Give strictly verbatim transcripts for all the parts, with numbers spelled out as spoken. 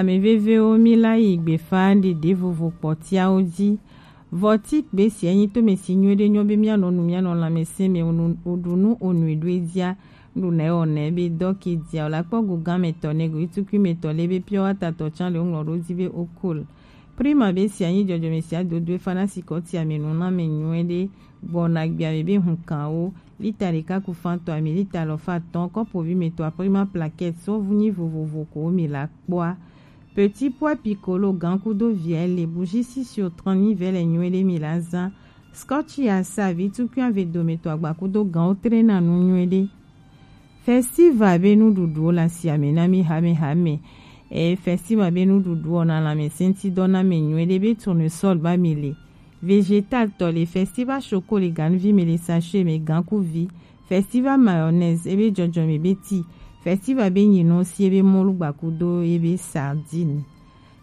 Ame vevewo, mi la yi gbefa ɖeɖe vovo kpɔtiawo ji. Vɔti gbe sia nyi tome si nyuie ɖe nyɔ be mianɔ nu, mianɔ lãmesẽ me, onu, oɖu nu, onu eɖo edzia, ɖu nɛ wɔ nɛ be dɔ ke dia, o la kpɔ go gã me tɔ ne go itukui me tɔ le be pure water tɔ tsan le ŋlɔ ɖo di be okol. Prima be sia nyi dzɔdzɔme sia dodo efa na sikɔ tia me nu na me nyuie ɖe gbɔna gbia me be hun kan wo. Lita ɖeka ku fan tɔ ami lita lɔ fa tɔn kɔpo vi me tɔ a prima plaquette sɔ vu nyi vovovo ko mi la kpɔa. Petit pois piccolo gan kudo vielle bougie six sur trente mi vɛ le nyuie ɖe mi la zan. Scotch ya sa vi tukui ave dome tɔ agba kudo gan wo tre na nu nyuie ɖe. Festival be nuɖuɖuwo le asiame na mi hamehame. E festival be nuɖuɖuwo na lãmesẽtidɔ na mi nyuie ɖe be tournesol ba mi le. Vegetal tɔ le festival choco le ganuvi me le sachet me gankuvi. Festival mayonnaise ebe dzɔdzɔme be ti. Festival be nyinɔ si ebe mɔlu gbakudo ebe sardine.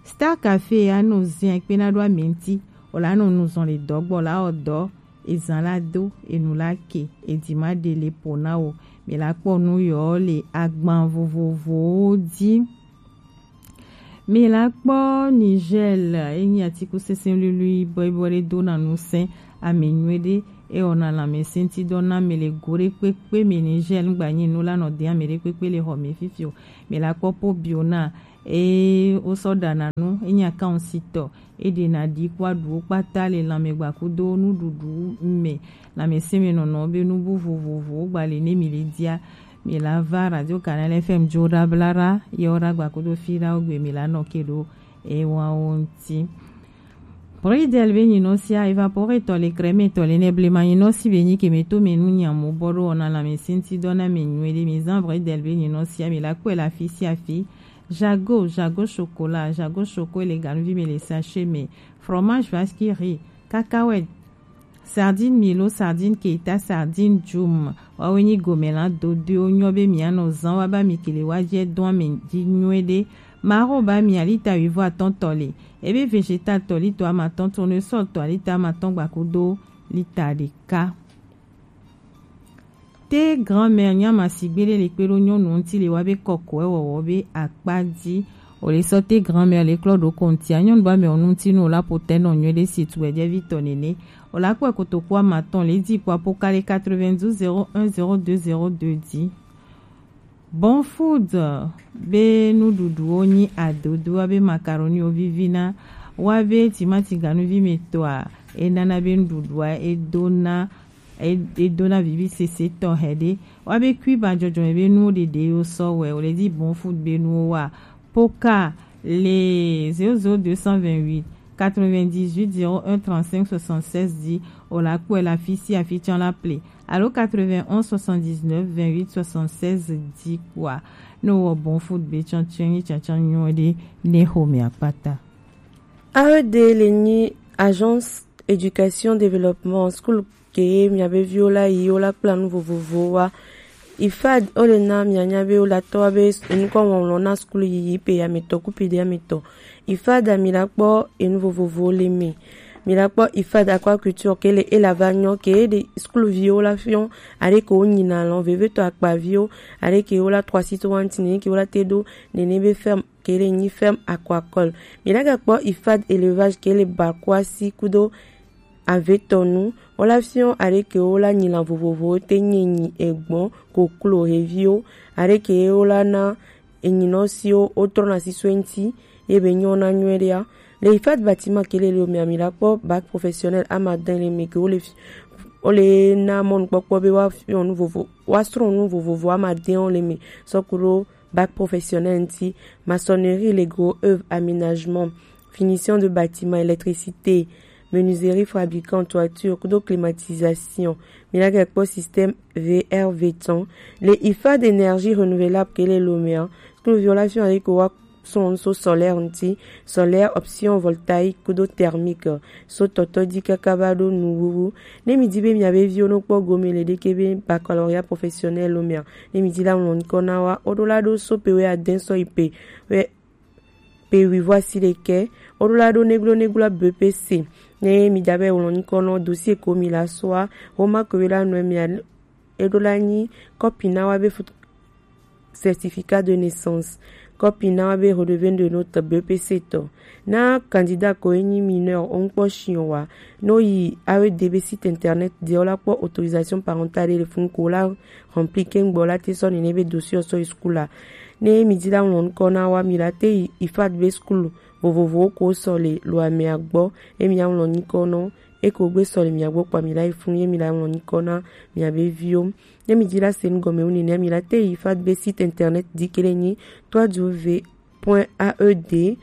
Star Café anɔ zin kpena ɖo amenti. O la nɔ nuzɔn le dɔgbɔ la ɔ dɔ ezan la do enu la ke edima ɖe le po na wo. Mi la kpɔ nu yɔ le agban vovovowo di. Mi la kpɔ Nigel enyi atikusese luilui bɔibɔ ɖe do na nusẽ ame nyuie ɖe ewɔna lãmesẽtidɔ na mi le go ɖe kpekpe me. Nigel ŋgba nyi nu la nɔ de ame ɖe kpekpe le xɔ me fifi o. Mi la kpɔ po bio na eye wosɔ ɖana nu enyi akansitɔ. Eɖena ɖi kpo aɖuwo kpata le lãmegba kudo nuɖuɖu me. Lãmesẽmenɔnɔ be nubu vovovowo gba le ne mi le dia. Mi la va Radio Canal F M jo ɖa bla ɖa ye wo ɖa gba kudo fi ɖa wo gbe mi la nɔ ke ɖo ewawo ŋuti. Bridel be nyinɔ sia evaporetɔ le crème tɔ le ne blema nyinɔ si be nyi ke me to me nu nyamo bɔ ɖo wɔna lãmesẽtidɔ na me nyuie ɖe mi zan Bridel be nyinɔ sia mi la kpɔe le afi sia afi. Jago, Jago chocolat, Jago choco le ganuvi me le sachet me, fromage vaskiri, cacahuète, sardine milo, sardine keita, sardine djum, wawe nyi gome la dodoewo nyɔ be mianɔ zan wa ba mi kele wa jɛ dɔn ame ji nyuie ɖe. Maro ba mi alita wivɔ atɔn tɔ le, ebe vegetal tɔ lito amatɔn, tournesol tɔ alita amatɔn gbakudo lita ɖeka. Te grand-mère nyama sigbe ɖe le kpe ɖo nyɔnu ŋuti le wa be kɔkɔe wɔwɔ be akpa ji. O le sɔ te grand-mère le klɔ ɖo kontia nyɔnu ba mɛ o ŋuti nu o la po tɛ nɔ nyuie ɖe si tu ɛjɛ vi tɔ nene. O la kpɔe kotoku amatɔn le di kpɔ apo kale quatre-vingt-douze zéro un zéro deux zéro deux di. Bon Food be nuɖuɖuwo nyi adodo abe macaroniwo vivina, wa be timati ganuvi me tɔa enana be nuɖuɖua edona e- edona vivi sese tɔ hɛ ɖe. Wa be kui ba dzɔdzɔme be nuwo ɖeɖe yo sɔ wɛ o le di Bon Food be nuwo wa. Poka le zéro zéro deux cent vingt-huit quatre-vingt-dix-huit zéro un trente-cinq soixante-seize di o la kpɔe le afi sia afi tsã la ple alo quatre-vingt-onze soixante-dix-neuf vingt-huit soixante-seize di kpɔa. Ne wɔ Bon Food be tsã tsɛ nyi tsãtsã nyuie ɖe ne xomea kpata. A E D le nyi Agence Éducation Développement, school ke miabe viwo la yi wo la kpla nu vovovowo wa. IFAD wo le na mianya be wo la tɔ be nukɔ ŋɔŋlɔ na skul yiyi pe ametɔ ku pe de ametɔ. IFAD mi la kpɔ enu vovovowo le me. Mi la kpɔ IFAD aquaculture ke le e la va nyɔ ke de skul viwo la fiɔ are ke wo nyina lɔ vevetɔ akpaviwo are ke wo la trois cent soixante nene ke wo la te do nene be ferme ke le nyi ferme aquacole. Mi la ga kpɔ IFAD élevage ke le bakoasi kudo avetɔnu, wo la fiɔ are ke wo la nyi lan vovovowo te nyi enyi, egbɔn, koklo, heviwo, are ke wo la na enyinɔ siwo wo trɔna sisɔe ŋuti ye be nyɔ na nyuie ɖea. Le IFAD bâtiment ke le le omea mi la kpɔ bac professionnel amadin le me ke wo le fi- wo le na mɔnukpɔkpɔ be wa fiɔ nu vovo wa srɔ̃ nu vovovo amadin wo le me sɔku ɖo bac professionnel ŋuti, maçonnerie, les gros œuvres, aménagement, finition de bâtiment, électricité, menuiserie, fabricant, toiture, kudo climatisation. Mi la ga kpɔ système V R V temps. Le IFAD d'énergie renouvelable ke le lomea. Skul viwo la fiɔ yi ko wa srɔ̃ nu so solaire ŋuti, solaire, option voltaïque kudo thermique. So tɔtɔ di kaka va ɖo nuwuwu. Ne mi di be miabe viwo no kpɔ gome le ɖeke be baccalauréat professionnel lo mea, ne mi di la ŋlɔ ŋkɔ na wa, wo ɖo la ɖo so pe wɛ adɛn sɔ yi pe wɛ pe wivɔ asi ɖekɛ, wo ɖo la ɖo neglo neglo B P C. Ne mi da be ŋlɔ ŋkɔ nɔ dossier ko mi la soa, wo ma ko wi la nɔ mia e ɖo la nyi kɔpi na wa be foto certificat de naissance. Kɔpi na wa be redevenu de note B P C tɔ. Na candidat ko e nyi mineur, o ŋkpɔ shiɔn wa, no yi A E D be site internet di, o la kpɔ autorisation parentale le fun ko la rempli kengbe, o la te sɔ nene be dossier sɔ yi school a. Ne mi di la ŋlɔ ŋkɔ na wa, mi la te yi IFAD be school vovovowo ko sɔ le Loamea gbɔ, e mi la ŋlɔ ŋkɔ nɔ, e ko gbe sɔ le mia gbɔ kpɔ mi la yi fun, ye mi la ŋlɔ ŋkɔ na mia be viwo. Ne mi di la se nu gɔme wu nene, mi la te yi IFAD be site internet di kele nyi trois W point A E D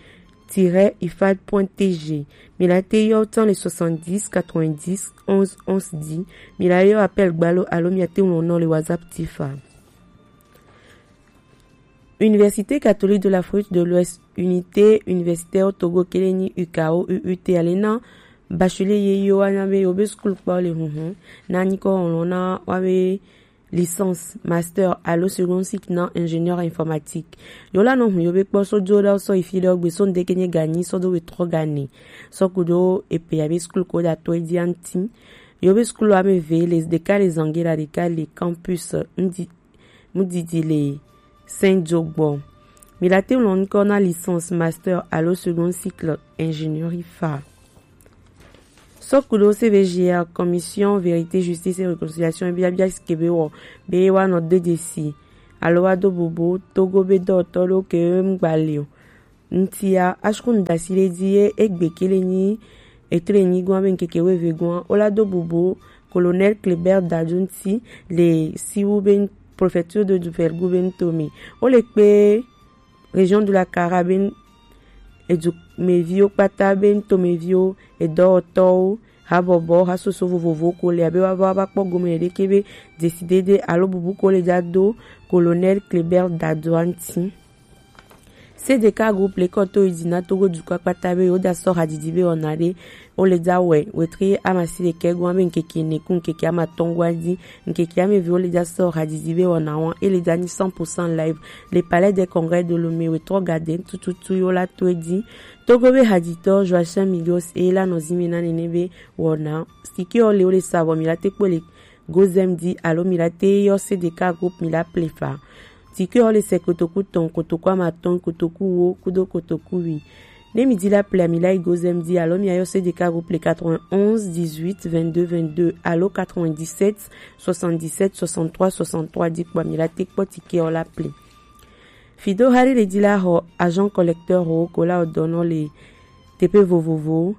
tiret ifad point T G. Mi la te yɔ tan le soixante-dix quatre-vingt-dix onze onze di. Mi la yɔ appel gbalo alo mi a te ŋlɔ nɔ le WhatsApp tifa. Université catholique de l'Afrique de l'Ouest, unité universitaire Togo kele nyi U K O U U T, ale na bachelier ye yo wa na be yo be school kpɔ le hunhun na nyi kɔ ŋlɔ na wa be licence, master alo second cycle na ingénieur informatique. Yo la nɔ hun yo be kpɔ so do da sɔ ifi le ogbe so ndeke nye ganyi sɔ do we trɔ gane. Sɔ kudo epe ya be school ko da to e di anti. Yo be school ame ve le deka le Zangela, deka le campus ndi mudidi le Saint Joe gbɔ. Mi la te ŋlɔ ŋkɔ na licence, master alo second cycle ingénierie fa. Sɔ kudo C V G R, Commission Vérité, Justice et Réconciliation, biabia si ke be wɔ be wa nɔ de desi alo wa do bubu Togo be dɔtɔ ɖo ke ŋgba le o. Ŋtia, ashkun dasi le di ye egbe kele nyi etre nyi gwan be ŋkeke weve gwan, o la do bubu Colonel Kléber Dadou ŋti le Siwu be préfecture de Douvelle gu be ŋtome. O le kpe région de la Kara be edu meviwo kpata be ŋtomeviwo, edɔwɔtɔwo, habɔbɔ, hasoso vovovo ko le abe wa va va kpɔ gome ɖeke be desidede alo bubu ko le da do Colonel Kléber Dadou ŋti. C D K groupe le kɔ to yi di na Togo dukɔ kpata be yo da sɔ hadidi be wɔna ɖe o le da wɛ wetri amasi ɖekɛ gwan be ŋkeke ene ku ŋkeke amatɔn gwan di. Ŋkeke ame ve o le da sɔ hadidi be wɔna wan e le da nyi cent pour cent live le Palais des Congrès de Lomé, wetrɔ gaden tututu yo la to e di. Togo be haditɔ Joachim Migos e la nɔ zi me na nene be wɔna. Sike o le o le sa vɔ mi la te kpɔ le Gozem di alo mi la te yɔ C D K groupe mi la ple fa. Tike o le sɛ kotoku tɔn, kotoku amatɔn, kotoku wo kudo kotoku wi. Ne mi di la ple mi la yi Gozem di alo mi a yɔ C D K groupe le quatre-vingt-onze dix-huit vingt-deux vingt-deux alo quatre-vingt-dix-sept soixante-dix-sept soixante-trois soixante-trois di kpɔ mi la te kpɔ tike o la ple. Fido hari le di la xɔ agent collecteur ho ko la o dɔnɔ le teƒe vovovowo.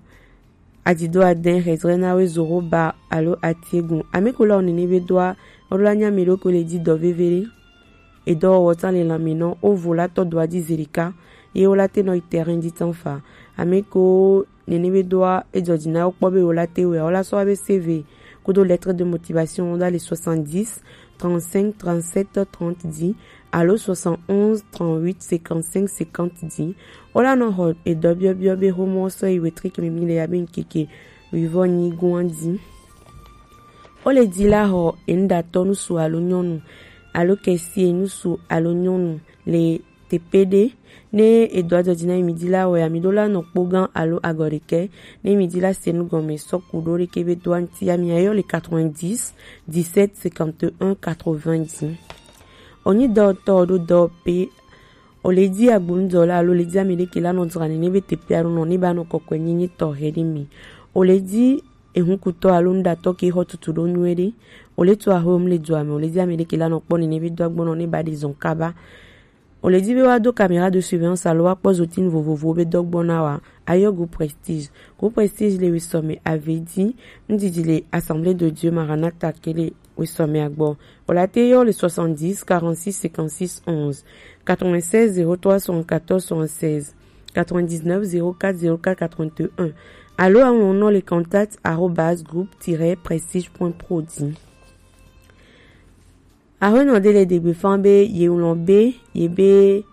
Adzido adɛn hezrɛna we zoro ba alo atiegun. Ameko la onene be doa, ola nya mi ɖo ko le di dɔ veve ɖe. Edɔ wɔ tan le lami nɔ, o vo la tɔ doa di zerika. Ye o la te nɔ yi terrain di tan fa. Ameko nene be doa, e jɔ di na o kpɔ be o la te wɛ, o la sɔ be C V kudo lettre de motivation da le soixante-dix trente-cinq trente-sept trente di alo soixante-onze trente-huit cinquante-cinq cinquante di. O la nɔ xɔ edɔ biɔbiɔ be xomɔ sɔ yi wetri kemi mi le ya be ŋkeke wivɔ nyi gwan di. O le di la xɔ enuɖatɔ nusu alo nyɔnu alo kɛsie nusu alo nyɔnu le teƒe ɖe. Ne edɔ jɔ di na mi di la wɛ, ami ɖo la nɔ kpo gã alo agɔ ɖekɛ. Ne mi di la se nu gɔme sɔ ku ɖo ɖeke be doa ŋti, ami ayɔ le quatre-vingt-dix dix-sept cinquante et un quatre-vingts di. Onyi dɔwɔtɔ ɖo dɔwɔƒe, o le di agbonudɔwɔla alo le di ame ɖeke la nɔ dzra nene be teƒe alo nɔ ne ba nɔ kɔkɔe nyenye tɔxɛ ɖe mi. O le di ehunkutɔ alo nuɖatɔ ke xɔ tutu ɖo nyuie ɖe. O le to axɔe mu le dua me, o le di ame ɖeke la nɔ kpɔ nene be do agbɔnɔ ne ba ɖe zɔn kaba. O le di be wa do caméra de surveillance alo wa kpɔ zotinu vovovowo be dɔgbɔ na wa. Ayɔ Groupe Prestige. Groupe Prestige le wesɔme ave di, nudidi le Assemblée de Dieu Maranatha ke le wesɔme agbɔ. O la te yɔ le soixante-dix quarante-six cinquante-six onze, quatre-vingt-seize zéro trois soixante-quatorze soixante-seize, quatre-vingt-dix-neuf zéro quatre zéro quatre quatre-vingt-un. Alo aŋlɔ nɔ le contact arobase groupe tiret prestige point pro di. Aƒenɔ ɖe le ɖegbe fan be ye ŋlɔ be ye be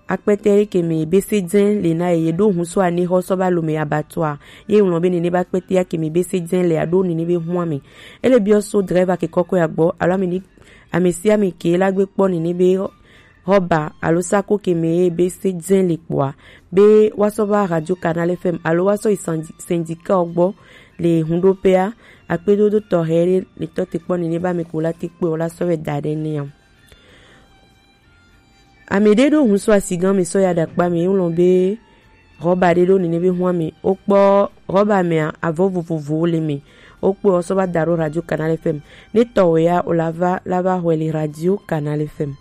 akpɛtɛ ɖe ke me ye be se dzɛ le na ye, ye ɖo hun so ane xɔ sɔ ba lo me abattoir. Ye ŋlɔ be nene be akpɛtɛ ya ke me be se dzɛ le aɖo nene be hua me. Ele biɔ so driver ke kɔkɔe agbɔ alo ame ni, ame sia ame ke la gbe kpɔ nene be xɔba alo sako ke me ye be se dzɛ le kpɔa, be wa sɔ va Radio Canal F M alo wa sɔ yi syndicat gbɔ le hunɖoƒea, akpedodo tɔxɛ ɖe le tɔ te kpɔ nene be ame ko la te kpɔe o la sɔ vɛ da ɖe nea. Ame ɖe ɖo hun so asigan mi sɔ ya ɖakpa mi, ŋlɔ be rɔba ɖe ɖo nene be hwan mi. Wokpɔ rɔba mea, avɔ vovovowo le mi. Wokpɔ sɔ va da ɖo Radio Canal F M. Ne tɔwɛ ya o la va la va hwɛ le Radio Canal F M.